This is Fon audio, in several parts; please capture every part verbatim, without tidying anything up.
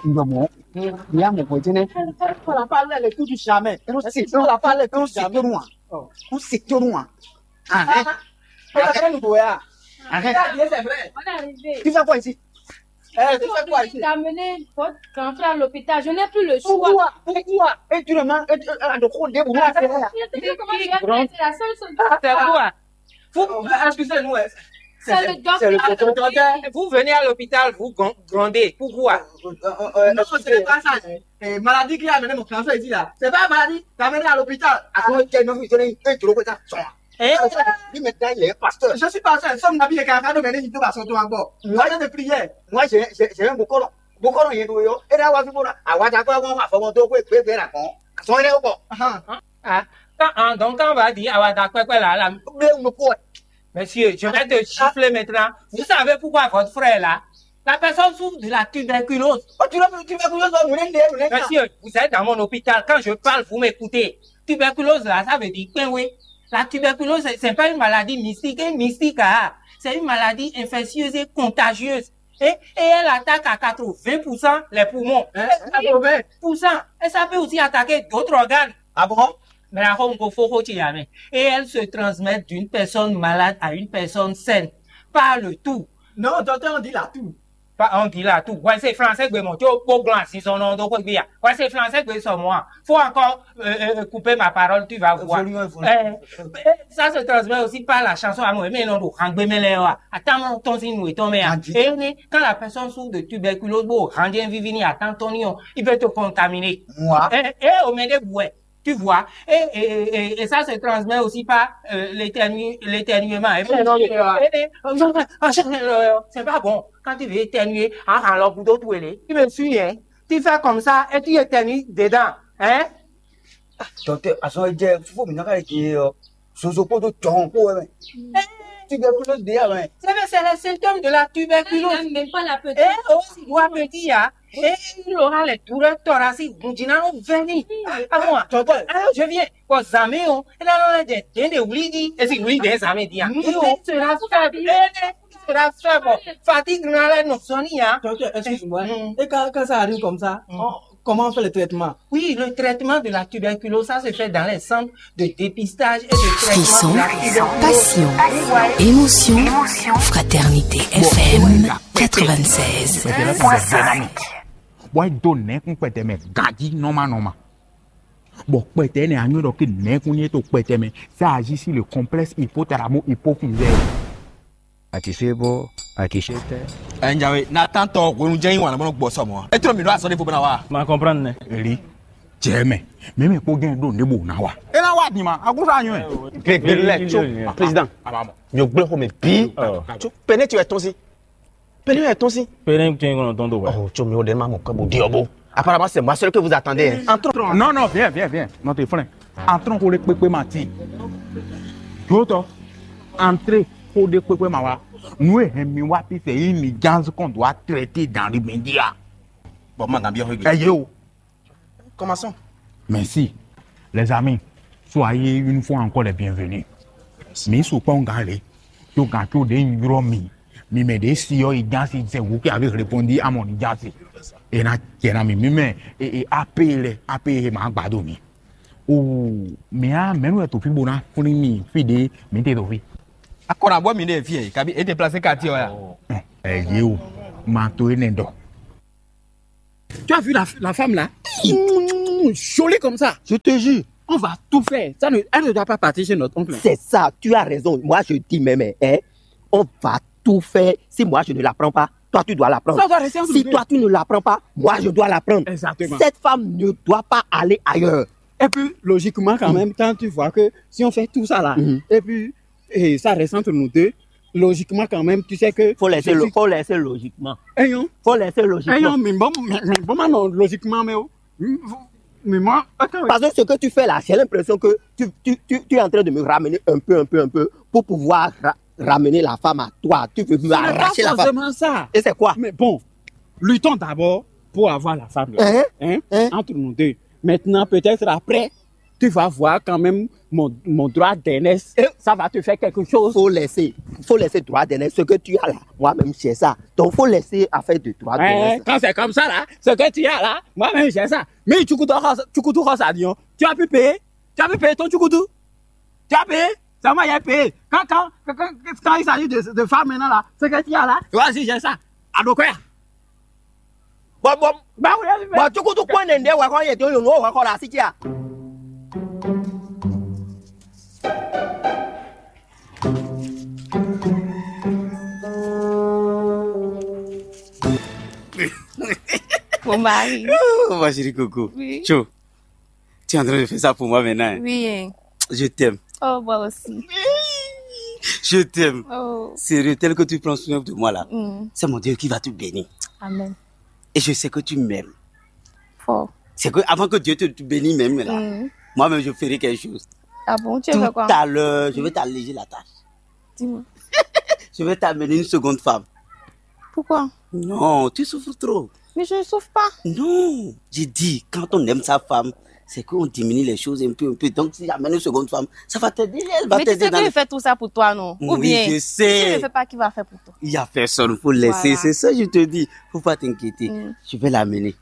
Ndɔmɔ, ya mɔ ko jene. Ko la parler le tout du jamais. Eno si to la parler tout jamais. Eno si to nua. Eno si to nua. Ah, eh. Arrête. Arrête. C'est vrai. On est arrivé. Tu fais quoi ici? Eh, tu fais quoi ici? J'ai amené votre grand frère à l'hôpital. Je n'ai plus le choix. Pourquoi? Pourquoi? Et tu demandes, et tu, euh, de quoi, de vous. Comment il vient de dire, c'est la seule solution. C'est quoi? Vous, excusez-nous, hein. C'est le docteur. Vous venez à l'hôpital, vous grondez. Pourquoi? Non, ce n'est pas ça. Eh, maladie qui a amené mon cancer ici là, c'est pas une maladie, t'as amené à l'hôpital. Attends, quel nom il donne un truc comme ça. Hein? Lui maintenant, il est pasteur. Je suis pasteur, nous sommes habillés car nous venons de passer encore. Moi, je de prière. Moi, j'ai, j'ai, j'ai un bokolo. Bokolo, il est doyo. Et là, on va voir. Ah, on va d'accord, on va faire mon dos, oui, oui, bien, là, bon. Son est au bord. Ah, quand, ah, donc quand on va dire, ah, ouais, d'accord, quoi, là, là. Mais on me quoi? Monsieur, je vais te gifler maintenant. Vous savez pourquoi votre frère est là? La personne souffre de la tuberculose. Oh, tu l'as, tu l'as, tu l'as, tu l'as, tu l'as. Monsieur, vous êtes dans mon hôpital. Quand je parle, vous m'écoutez. Tuberculose, là, ça veut dire que oui. La tuberculose, c'est, c'est pas une maladie mystique. Une mystique, ah, c'est une maladie infectieuse et contagieuse. Et, et elle attaque à quatre-vingts pour cent les poumons. Hein? Oui, quatre-vingts pour cent. Et ça peut aussi attaquer d'autres organes. Ah bon? Mais la home faut jamais. Et elle se transmet d'une personne malade à une personne saine. Par le tout. Non, docteur, on dit la tout. Pas on dit la tout. Ouais, c'est français, mais bon, tu es au grand, si son nom, donc, bien. Ouais, c'est français, mais son moi. Faut encore euh, euh, couper ma parole, tu vas voir. Évoluons, évoluons. Eh, eh, ça se transmet aussi par la chanson à moi, mais non, non, attends, ton si nous étons, mais quand la personne souffre de tuberculose, bon, rien vivini, attends, ton, il peut te contaminer. Moi? Eh, eh, au moins, des bouées. Tu vois, et, et, et, et ça se transmet aussi par euh, l'éternu-, l'éternuement. Et puis, euh, et, et, c'est pas bon. Quand tu veux éternuer, ah, alors, tu me suis, hein? Tu fais comme ça et tu éternues dedans, hein? Docteur, azɔn e jɛ fúfú mi ná ka yi din e ɔ, zozo kpódó jɔhɔn kpó wɛ mɛ. Tuberculose ɖe ya mɛ. C'est vrai, c'est les symptômes de la tuberculose. Elle n'aime même pas la petite. Eh, oh, si doit petit ya. Eh, il aura les douleurs thoraciques, gunjina no veni. Ah bon, docteur, je viens. Bon, zami o, et là, là, des, des, des, oui, dit. Et si oui, des amis, dit, hein. Nous, on sera faible. Eh, eh, on sera faible. Fatigue, là, là, nous sommes, hein. Docteur, excuse-moi. Mm. Et quand, quand ça arrive comme ça, mm, on, comment on fait le traitement? Oui, le traitement de la tuberculose, ça se fait dans les centres de dépistage et de traitement. Frisson, de la tuberculose. Passion, émotion, fraternité. F M quatre-vingt-seize. Wá dó nɛ̌kún kpɛtɛ mɛ ganjí nɔ́ma nɔ́ma. Bɔ kpɛtɛ énɛ́ anyɔ́ ɖɔ kí nɛ̌kún ní é to kpɛtɛ mɛ. Ça agit sur le complexe hypothalamo-hypophysaire. Àti ṣe bó, àti ṣe tẹ́. Ẹ ń jáwé, Nathan tɔ hwenu jẹ́ yín wà lọ́mọ́nà gbọ́ sọ̀mọ́. Ẹ tún mi lọ àsọdé fún bọ́nà wa. Ma comprendre nɛ. Èlí, jẹ́ mẹ́, mẹ́mẹ́ kpó gẹ́n ɖo níbo ná wa. É ná wá dì mà, àkúsọ àyàn ẹ̀. Grégory lɛ tso. Président, mi ò gbé xɔmɛ bí. Tso pɛnɛ tí wɛ tɔn sí. Pɛnɛ wɛ tɔn sí. Pɛnɛ tí wɛ tɔn tó wɛ. Oh, tso mi ò dé ma mọ̀ kọ́ bó di ɔbó. Apparemment, c'est moi seul que vous attendez, hein. Entrons. Non, non, viens, viens, viens. Notre frère. Entrons pour le pépé matin. D'autres. Entrée pour le pépé mawa. Nous, et mi wa pi c'est une urgence qu'on doit traiter dans l'immédiat. Bon, ma gambia. Ayo. Commençons. Merci. Les amis, soyez une fois encore les bienvenus. Mi sukpɔn gan le. Tó gan tó de yrɔ mi. Mi mɛ de si ɔ yi gan si c'est vous qui avez répondu à mon urgence. Et na tiens na mi mi mɛ et, et A P le A P ma gbado mi. Oh, mais ah, mais nous to fi bona funi mi fi de mi te to fi. Akɔna bɔ mi de fi e kabi e déplacer quartier ya. Eh, ye o. Ma to ene do. Tu as vu la, la femme là? Jolie comme ça. Je te jure. On va tout faire. Ça ne, elle ne doit pas partir chez notre oncle. C'est ça, tu as raison. Moi, je dis, mais, mais, hein, on va tout faire. Si moi, je ne la prends pas, toi, tu dois la prendre. Ça doit rester entre nous deux. Si toi, tu ne la prends pas, moi, je dois la prendre. Exactement. Cette femme ne doit pas aller ailleurs. Et puis, logiquement, quand même, quand tu vois que si on fait tout ça là, et puis, et ça reste entre nous deux, logiquement, quand même, tu sais que... Faut laisser, faut laisser logiquement. Faut laisser logiquement. Ayons, mais bon, mais, mais bon, non, logiquement, mais, oh, mais moi, attends. Parce que ce que tu fais là, j'ai l'impression que tu, tu, tu, tu es en train de me ramener un peu, un peu, un peu, pour pouvoir ra-, ramener la femme à toi. Tu veux me arracher la femme. Ce n'est pas forcément ça. Et c'est quoi? Mais bon, luttons d'abord pour avoir la femme là. Hein? Hein? Entre nous deux. Maintenant, peut-être après, tu vas voir quand même mon, mon droit d'aînesse, ça va te faire quelque chose. Faut laisser, faut laisser droit d'aînesse. Ce que tu as là, moi-même, j'ai ça. Donc, faut laisser affaire de droit d'aînesse. Quand c'est comme ça, là, ce que tu as là, moi-même, j'ai ça. Mais tu coûtes, tu coûtes ça, Lyon. Tu as pu payer. Tu as pu payer ton tchoukoudou. Tu as payé. C'est moi qui ai payé. Quand, quand, quand, quand, quand il s'agit de, de femmes maintenant là, ce que tu as là, tu vois, si j'ai ça. À donc, quoi? Bon, bon, bah oui, bon, tu coûtes quoi, Nende, ouais, quand il est au, ouais, quand la, si tu as. Mon mari. Oh, ma chérie Coco. Oui. Cho, tu es en train de faire ça pour moi maintenant, hein? Oui, hein. Je t'aime. Oh, moi aussi. Je t'aime. Oh. Sérieux, tel que tu prends soin de moi là, Mm. C'est mon Dieu qui va te bénir. Amen. Et je sais que tu m'aimes. Fort. C'est que avant que Dieu te, te bénisse même là, Mm. Moi-même je ferai quelque chose. Ah bon, tu Tout veux quoi? À l'heure, je vais t'alléger la tâche. Dis-moi. Je vais t'amener une seconde femme. Pourquoi? Non, tu souffres trop. Mais je ne souffre pas. Non, j'ai dit, quand on aime sa femme, c'est qu'on diminue les choses un peu, un peu. Donc, si j'amène une seconde femme, ça va t'aider. Elle va Mais tu t'aider sais dans que le... je fais tout ça pour toi, non? Ou Oui, bien, je si je ne sais. Fais pas, qui va faire pour toi? Il y a personne, faut laisser. Voilà. C'est ça, je te dis. Faut pas t'inquiéter. Mm. Je vais l'amener.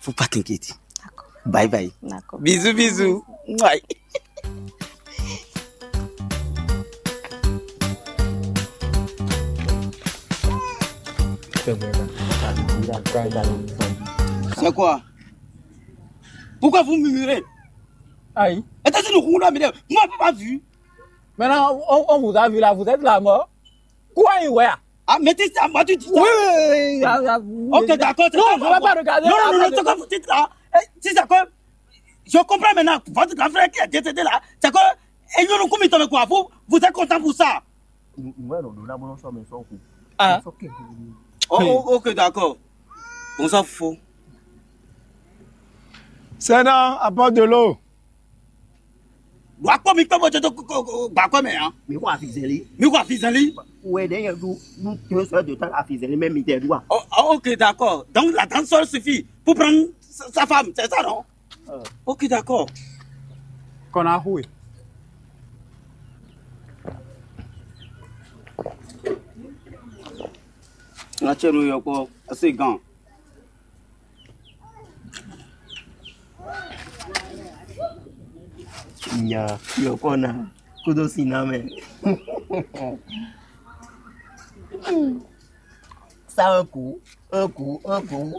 Faut pas t'inquiéter. D'accord. Bye bye. D'accord. Bisous, bisous. Mouah. C'est quoi? Pourquoi vous murmurez? Aïe. Et t'as dit nous, on a mis, moi, pas vu. Maintenant, on, on vous a vu là, vous êtes là mort. Quoi, il ouais? Ah, mais tu sais, moi, tu dis ça. Oui, oui, oui, oui, oui, oui. Ok, d'accord. C'est Non, ça, je ne vais pas regarder. Non, non, non, non, Attends. Ce que vous dites là, eh, si c'est que je comprends maintenant, votre grand frère qui est décédé là, c'est que, et nous, nous, comment il tombe quoi? Vous, vous êtes content pour ça? Ìwé ìròdó náà bó ló sọ mi sọ kù. Ah. Sọ kí n kú. Oh, oh, ok, d'accord. Bonsoir, Fofo. Sena, apporte de l'eau. Gbàkpọ́ mi pé mo jẹ tó gbàkpọ́ mẹ́ hàn. Mi kò àfihàn lé. Mi kò àfihàn lé. Wẹ̀ dẹ́ yẹn du nu tó sọ de tán àfihàn lé mẹ́ mi tẹ̀ du wa. Oh, oh, ok, d'accord. Donc la danse seule suffit pour prendre sa, sa femme, c'est ça, non? Ok, d'accord. Qu'on a joué. Ŋa tsɛ ɖo yɔkpɔ ese gan. Nya yɔkɔ na kudo si na mɛ. Ça un coup, un coup, un coup.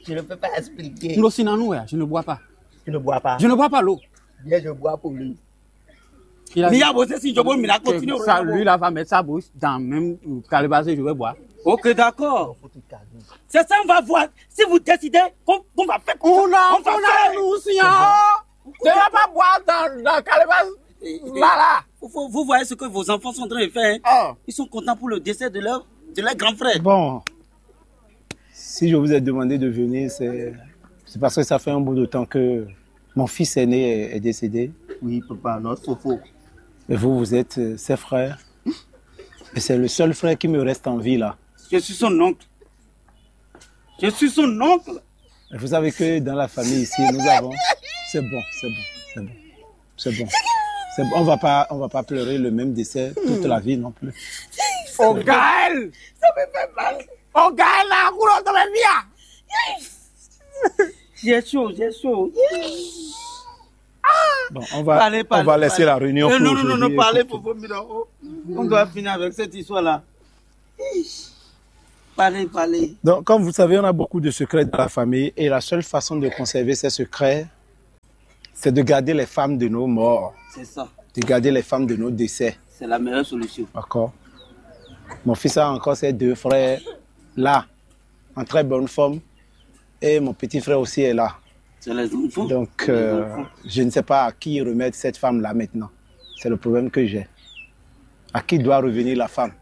Je ne peux pas expliquer. Nous aussi, non, nous, ouais, je ne bois pas. Tu ne bois pas. Je ne bois pas l'eau. Bien, je bois pour lui. Il a N'i dit y'a bosé si je veux, il a que continué. ça, lui, là, va mettre sa bouche dans même calebasse et je vais boire. Ok, d'accord. Faut te calmer. C'est ça, on va voir. Si vous décidez qu'on qu'on va faire comme On ça, a, on va on a, faire. Nous aussi, hein. Tu ne vas pas boire dans la calebasse. Là, là. Vous, vous- vous voyez ce que vos enfants sont en train de faire, hein? Oh. Ils sont contents pour le décès de leur, de leur grand frère. Bon, si je vous ai demandé de venir, c'est c'est parce que ça fait un bout de temps que mon fils aîné est, est décédé. Oui, papa, notre faux. Et vous, vous êtes euh, ses frères. Et c'est le seul frère qui me reste en vie là. Je suis son oncle. Je suis son oncle. Et vous savez que dans la famille ici, nous avons. C'est bon, c'est bon, c'est bon. C'est bon. C'est bon. On va pas, on va pas pleurer le même décès toute la vie non plus. Oh, Gaël. Ça me fait mal. Oh, Gaël, là, couleur de la vie. J'ai chaud, j'ai chaud. Bon, on va, Parlez, on parlez, va laisser parlez. La réunion Euh, pour non, non, non, aujourd'hui non, parlez écouter. Pour vos mineurs. On doit finir avec cette histoire-là. Parlez, parlez. Donc, comme vous savez, on a beaucoup de secrets dans la famille et la seule façon de conserver ces secrets, c'est de garder les femmes de nos morts, C'est ça. De garder les femmes de nos décès. C'est la meilleure solution. D'accord. Mon fils a encore ses deux frères là, en très bonne forme. Et mon petit frère aussi est là. C'est les enfants. Donc, C'est les euh, enfants. Je ne sais pas à qui remettre cette femme-là maintenant. C'est le problème que j'ai. À qui doit revenir la femme?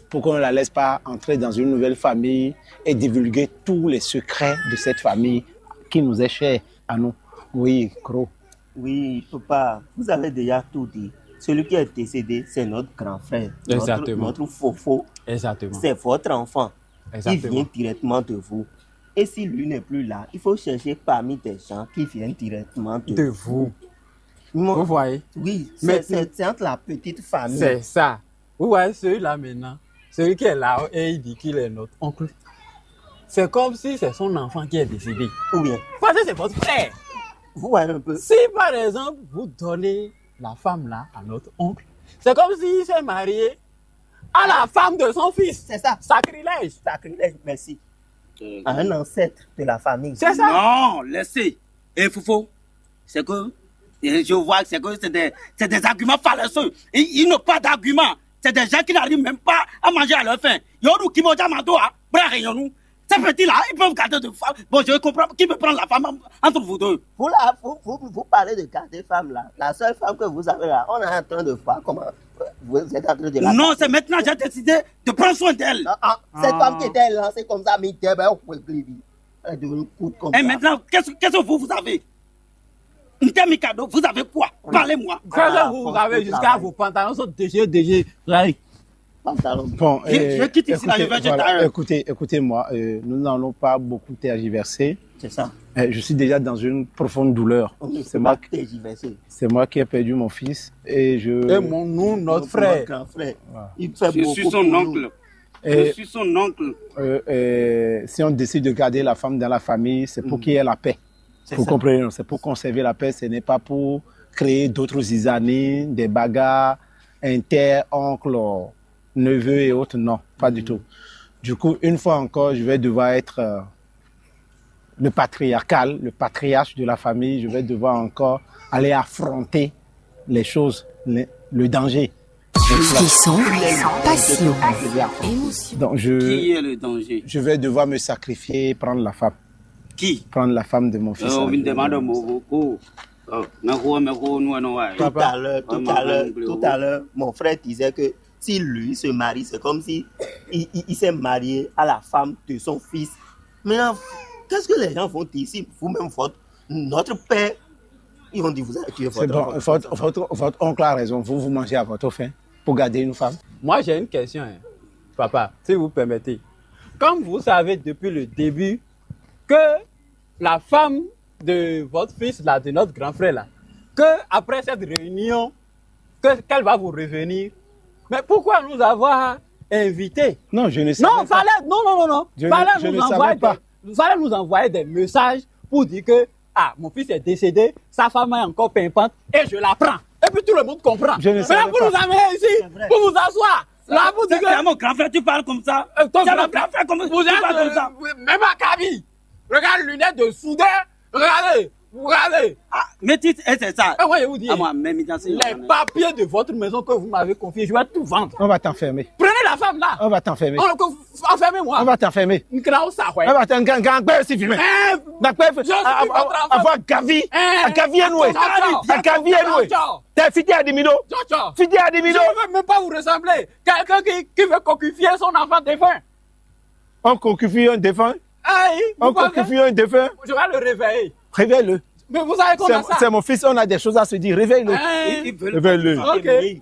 Pour qu'on ne la laisse pas entrer dans une nouvelle famille et divulguer tous les secrets de cette famille qui nous est chère à nous. Oui, gros. Oui, papa, vous avez déjà tout dit. Celui qui est décédé, c'est notre grand frère. Exactement. Notre, notre faux-faux. Exactement. C'est votre enfant. Il Exactement. Vient directement de vous. Et si lui n'est plus là, il faut chercher parmi des gens qui viennent directement de, De vous. Vous voyez? Oui, c'est, c'est entre la petite famille. C'est ça. Vous voyez, celui-là maintenant, celui qui est là et il dit qu'il est notre oncle. C'est comme si c'est son enfant qui est décédé. Ou bien. Parce que c'est votre frère. Vous voyez un peu. Si par exemple, vous donnez la femme là à notre oncle, c'est comme s'il s'est marié à la femme de son fils. C'est ça. Sacrilège. Sacrilège, merci. À un ancêtre de la famille. C'est ça. Non, laissez. Et Fofo, c'est que, et je vois que c'est que c'est des, c'est des arguments fallacieux. Ils, ils n'ont pas d'arguments. C'est des gens qui n'arrivent même pas à manger à leur faim. Yodu Kimoja Mado, hein, Brahayonu. Ces petits-là, ils peuvent garder de femmes. Bon, je comprends. Qui peut prendre la femme en- entre vous deux? Vous, là, vous, vous, vous parlez de garder femme là. La seule femme que vous avez là, on est en train de voir comment, euh, vous êtes en train de la Non, garder. C'est maintenant que j'ai décidé de prendre soin d'elle. Ah, ah, cette femme qui était là, c'est comme ça, mais elle est devenue courte comme ça. Et maintenant, qu'est-ce, qu'est-ce que vous, vous avez? Ntemi Kado, vous avez quoi? Parlez-moi. Qu'est-ce que vous avez jusqu'à vos pantalons sont déchirés, déchirés. Regardez. Pantalon. Bon, je, euh, je quitte ici, là, je écoutez, vais jeter voilà, ailleurs. Écoutez, écoutez-moi, euh, nous n'allons pas beaucoup tergiverser. C'est ça. Euh, je suis déjà dans une profonde douleur. On ne C'est peut moi pas qui, tergiverser. C'est moi qui ai perdu mon fils et je Et mon, nous, notre Notre frère. Grand frère. Voilà. Il fait Je beaucoup suis son pour nous. Oncle. Et, Je suis son oncle. Euh, euh, si on décide de garder la femme dans la famille, c'est pour qu'il y ait la paix. C'est Vous ça. Comprenez, non? C'est pour conserver la paix, ce n'est pas pour créer d'autres zizanies, des bagarres, inter, oncle, neveu et autres, non, pas du tout. Du coup, une fois encore, je vais devoir être euh, le patriarcal, le patriarche de la famille, je vais devoir encore aller affronter les choses, les- le danger. Frisson, passion, émotion. Donc je, Qui est le danger? Je vais devoir me sacrifier et prendre la femme. Qui? Prendre la femme de mon fils. Euh, on me demande mon beaucoup. Oh, mais gros, mais gros, nous, non, ouais. Tout à l'heure, tout Vraiment, à l'heure, vraiment, tout à l'heure, mon frère disait que si lui se marie, c'est comme si il, il- il s'est marié à la femme de son fils. Maintenant, qu'est-ce que les gens vont dire si vous-même, votre, notre père, ils vont dire vous avez tué C'est votre bon, enfant? Votre, votre, votre oncle a raison. Vous, vous mangez à votre faim pour garder une femme. Moi, j'ai une question, hein, papa, si vous permettez. Comme vous savez depuis le début que la femme de votre fils, là, de notre grand frère, là, que après cette réunion, que, qu'elle va vous revenir. Mais pourquoi nous avoir invités? Non, je ne savais Non, pas. Fallait, non, non, non, non. Je ne- Fallait je nous ne savais envoyer pas. Des, fallait nous envoyer des messages pour dire que, ah, mon fils est décédé, sa femme est encore pimpante, et je la prends. Et puis tout le monde comprend. Je ne Mais là, savais vous pas. Nous amenez ici, C'est vrai. Pour vous asseoir. Là, vous dites C'est que c'est à mon grand frère, tu parles comme ça. Euh, ton C'est à mon grand- grand frère, comme Vous tu êtes, parles comme euh, ça. Même à Kaby. Regarde, lunettes de soudeur. Regardez, regardez. Ah, mais tu sais, c'est ça. Ah, ouais, je vous dis. Ah, moi, même dans ces Les papiers de votre maison que vous m'avez confiés, je vais tout vendre. On va t'enfermer. Prenez la femme là. On va t'enfermer. On, enfermez-moi. On va t'enfermer. Nkrao sa, ouais. On va t'enfermer si vieux. Eh, D'après je suis votre enfant. Avoir Gavi. Eh, À Gavi et Noé. Attends, attends. À Gavi et Noé. Attends. T'es fidèle à Dimino. Attends. Fidèle à Dimino. Je ne veux même pas vous ressembler. Quelqu'un qui, qui veut coquifier son enfant défunt. On cocufie un défunt. Aïe, On vous pensez cocufie un défunt. Je vais le réveiller. Réveille-le. Mais vous savez qu'on C'est a ça. C'est mon fils, on a des choses à se dire. Réveille-le. Hein? Ils, ils veulent Réveille-le. Ok.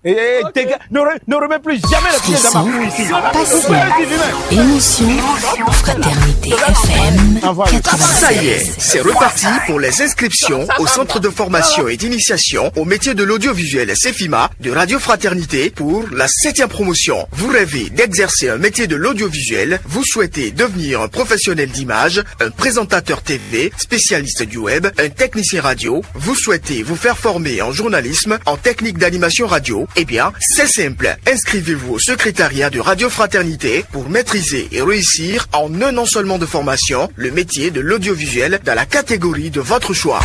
Et, et, Ok. Dégage, ne, re- ne remets plus jamais le pied dans ma Frisson, cour ici. Passion, Vous pouvez le dire lui-même. Émotion, Fraternité F M. Envoie-le. Ça y est, quatre-vingt-seize. C'est reparti pour les inscriptions au centre de formation et d'initiation au métier de l'audiovisuel Cefima de Radio Fraternité pour la septième promotion. Vous rêvez d'exercer un métier de l'audiovisuel, vous souhaitez devenir un professionnel d'image, un présentateur T V, spécialiste du web, un technicien radio, vous souhaitez vous faire former en journalisme, en technique d'animation radio, eh bien, c'est simple. Inscrivez-vous au secrétariat de Radio Fraternité pour maîtriser et réussir en un an seulement de formation le métier de l'audiovisuel dans la catégorie de votre choix.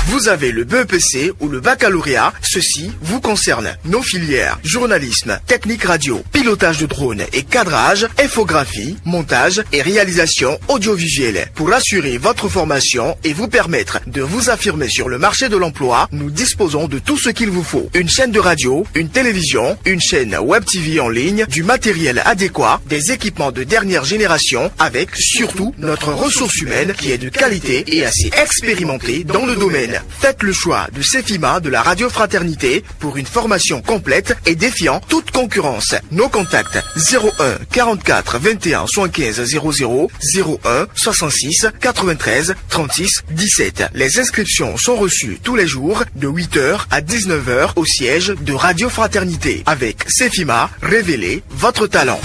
Vous avez le B E P C ou le baccalauréat, ceci vous concerne. Nos filières, journalisme, technique radio, pilotage de drone et cadrage, infographie, montage et réalisation audiovisuelle. Pour assurer votre formation et vous permettre de vous affirmer sur le marché de l'emploi, nous disposons de tout ce qu'il vous faut. Une chaîne de radio, une télévision, une chaîne web T V en ligne, du matériel adéquat, des équipements de dernière génération, avec surtout notre ressource humaine qui est de qualité et assez expérimentée dans le domaine. Faites le choix de Cefima de la Radio Fraternité pour une formation complète et défiant toute concurrence. Nos contacts: zéro un, quarante-quatre, vingt et un, soixante-quinze, zéro zéro, zéro un, soixante-six, quatre-vingt-treize, trente-six, dix-sept. Les inscriptions sont reçues tous les jours de huit heures à dix-neuf heures au siège de Radio Fraternité. Avec Cefima, révélez votre talent.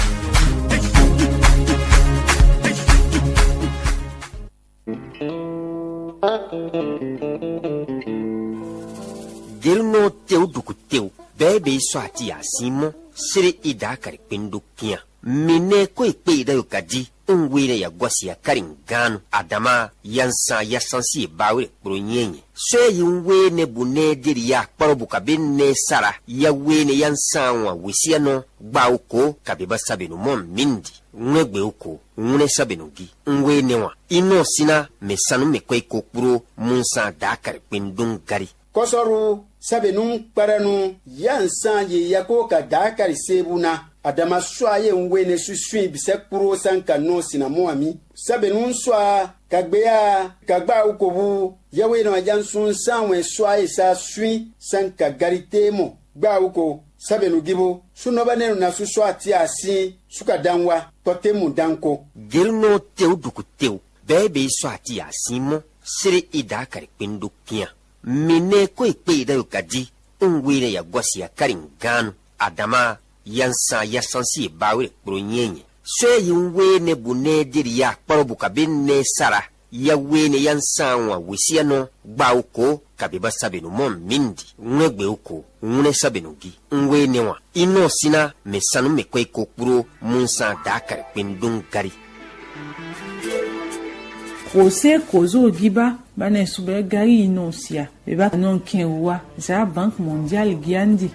Gelunɔ tewu duku tewu bɛɛ bɛ yi sɔ ati ya sin mɔ sere i da kari kpendo kian. Mine ko ikpe i da yo kadi un we ne ya gɔsi ya kari ganu adama ya nsan ya sansi e ba we kpro nyɛnyɛ. Sɔ yi un we ne bu ne de ya kparo bu kabe ne sara ya we ne ya nsan wa wesiya nɔ gba o ko kabe ba sabe no mɔ mindi. Ŋwlɛ́gbɛ ó ko, ŋwlɛ́ sábɛ nɔ gí. Un we nɛ́ wan. I nɔ sín ná mɛ sanu mɛ kɔ́ yi ko kpló munsan dǎ kɛrɛ kpé un ɖó un gari. Kɔsɔru sábɛ nú kpɛɖɛnu yá nsán yi yako ka dǎ kari seebu ná. Adama sɔ́ ayé un we ne súswín bisɛ kpló sán ka nɔ sinamɔ ami. Sábɛ nú sɔ́ a ka gbé a ka gbá awu ko bú yɛwe nɔ ajá nsún sán wɛn sɔ́ ayé sá swín sán ka gari téé mɔ. Gbá awu ko sábɛ nú gíbo. Súnɔ́bɛ́nɛnu ná sú sɔ́ atín asín súkadanwa kpɔtɛ́mu danko. Gelunɔ tewu duku tewu bɛɛ bɛ yi sɔ́ ati asin mɔ sere i da kari kpendo kian. Mi nɛ ko e kpe yi da yo kadi un we ne ya gɔsi akari ganu adama ya nsan ya sansi e ba we kpro nyɛnyɛ. Sɔ yi un we ne bu ne de ya kpɔrɔ bu kabe ne sara ya we ne ya nsan wa wesiya nɔ gba o ko kabe ba sabe no mɔ mindi ŋlɛ gbe o ko ŋlɛ sabe no gi. Un we ne wa inɔ sina mɛ sanu mɛ kɔ yi ko kpro munsan da kari kpendo gari. Kose kozo giba bane subɛ gari inɔ sia beba nɔ kɛn wa za Banque Mondiale giandi.